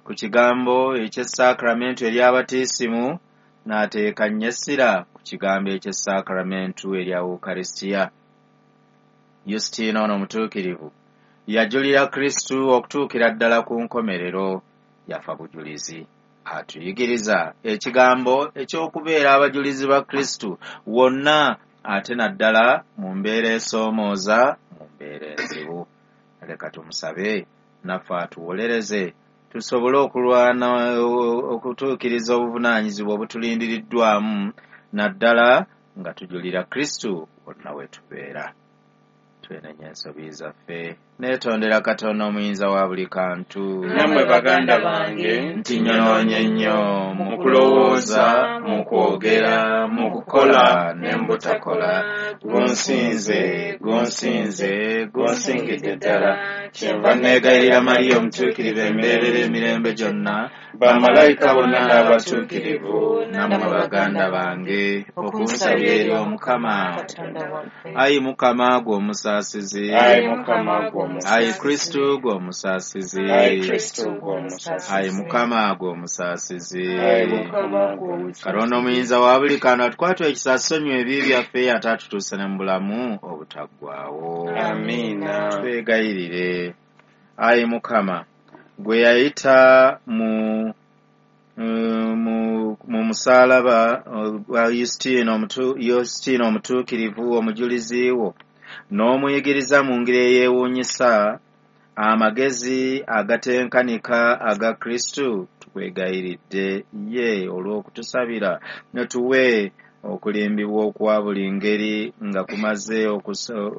Ku kigambo eky'essaakramentu ery'abatiisimu, n'ateeka nnyo essira ku kigambo eky'essaakramentu erya Ukaristia. Yusitiina ono omutuukirivu yajulira Kristu okutuukira ddala ku nkomerero, yafa bujulizi. Atuyigiriza ekigambo eky'okubeera abajulizi ba Kristu wonna, ate naddala mu mbeera esoomooza, mu mbeera enzibu. Leka tumusabe naffe atuwolereze tusobole okulwana okutuukiriza obuvunaanyizibwa obutulindiriddwamu, naddala nga tujulira Kristu wonna we tubeera. Twenenya ensobi zaffe, neetondera Katonda omuyinza wa buli kantu. Nammwe baganda bange, nti nnyonoonye nnyo mu kulowooza, mu kwogera, mu kukola ne mu butakola. Gunsinze, gunsinze, gunsingidde ddala. Kyenva neegayirira Mariya omutuukirivu embeerera emirembe gyonna, bamalayika bonna n'abatuukirivu, nammwe baganda bange, okunsabira eri Omukama. Ayi Mukama gwe omusaasizi, Ayi Mukama gwe omusaasizi, Ayi Kristu gwe omusaasizi, Ayi Kristu gwe omusaasizi, Ayi Mukama gwe omusaasizi, Ayi Mukama gwe omusaasizi. Katonda omuyinza wa buli kantu atukwatwa ekisa asonyiwe ebibi byaffe ate atutuuse ne mu bulamu obutaggwaawo. Amiina. Twegayirire. Ayi Mukama, gwe yayita mu mu musaalaba gwa Yusitiina omutuukirivu omujulizi wo, n'omuyigiriza mu ngeri eyeewuunyisa amagezi agatenkanika aga Kristu, tukwegayiridde ye olw'okutusabira ne tuwe okulimbibwa okwa buli ngeri nga kumaze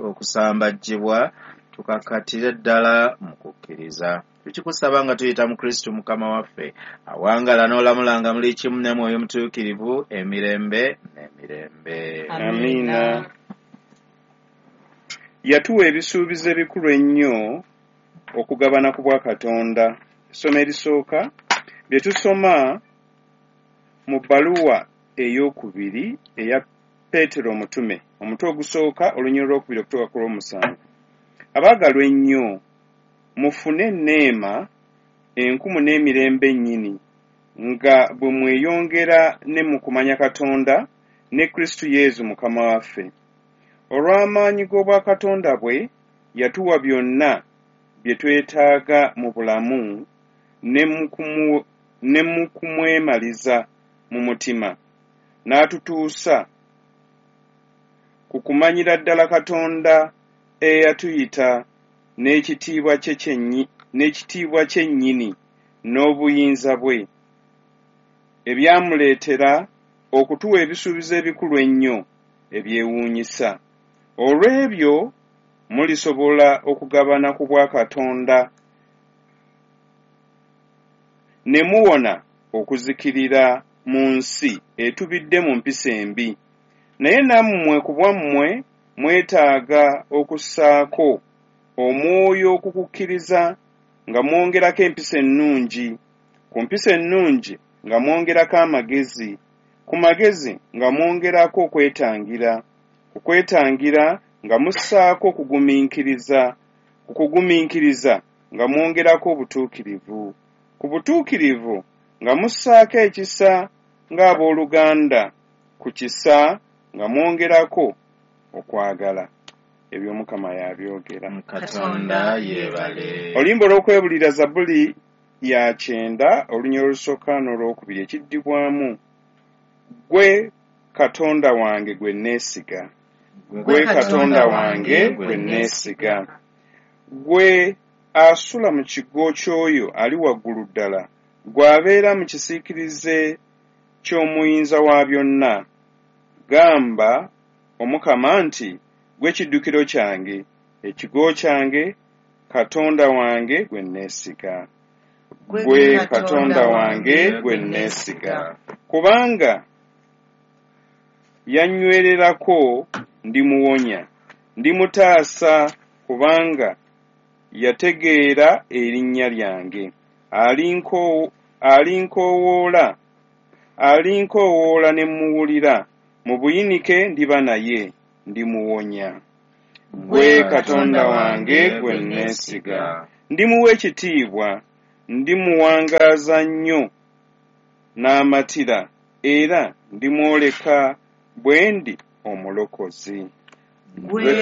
okusambajjibwa, tukakatire ddala mu kukkiriza. Tukikusaba nga tuyita mu Kristu Mukama waffe, awangala n'olamulanga muli kimu ne Mwoyo Mutuukirivu emirembe n'emirembe. Amiina. Yatuwa ebisuubizo ebikulu ennyo okugabana ku bwa Katonda. Essomo erisooka bye tusoma mu bbaluwa ey'okubiri eya Peetero omutume, omutwe ogusooka olunyiriri olwokubiri okutuuka ku lw'omusanvu. Abaagalwa ennyo, mufune enneema enkumu n'emirembe nnyini, nga bwe mweyongera ne mu kumanya Katonda ne Kristu Yesu Mukama waffe. Olw'amaanyi g'obwakatonda bwe yatuwa byonna bye twetaaga mu bulamu ne mu kumwemaliza mu mutima, n'atutuusa ku kumanyira ddala Katonda eyatuyita n'ekitiibwa kye nnyini n'obuyinza bwe, ebyamuleetera okutuwa ebisuubizo ebikulu ennyo ebyewuunyisa. Olw'ebyo mulisobola okugabana ku bwa Katonda ne muwona okuzikirira mu nsi etubidde mu mpisa embi. Naye nammwe ku bwammwe mwetaaga okussaako omwoyo okukukkiriza nga mwongerako empisa ennungi, ku mpisa ennungi nga mwongerako amagezi, ku magezi nga mwongerako okwetangira, ku kwetangira nga mussaako okugumiikiriza, ku kugumiikiriza nga mwongerako obutuukirivu, ku butuukirivu nga mussaako ekisa ng'abooluganda, ku kisa nga mwongerako okwagala. Ebyo Mukama yabyogera. Katonda yeebale. Oluyimba olw'okwebulira Zabbuli ya 90 olunyiriri olusooka n'olwokubiri ekiddibwamu ggwe Katonda wange gwe neesiga, ggwe Katonda wange gwe neesiga, ggwe asula mu kigo ky'oyo ali waggulu ddala, ggwe abeera mu kisiikirize ky'omuyinza wa byonna. Gamba Omukama nti ggwe kiddukiro kyange, ekigo kyange, Katonda wange gwe neesiga. Ggwe Katonda wange gwe neesiga, kubanga yannywererako ndimuwonya, ndimutaasa kubanga yategeera erinnya lyange. Alinkoowoola ne mmuwulira, mu buyinike ndiba naye, ndimuwonya. Ggwe Katonda wange gwe neesiga, ndimuwa ekitiibwa, Ndimuwangaaza nnyo n'amatira, era ndimwoleka bwe ndi Omulokozi. Ggwe Ggwe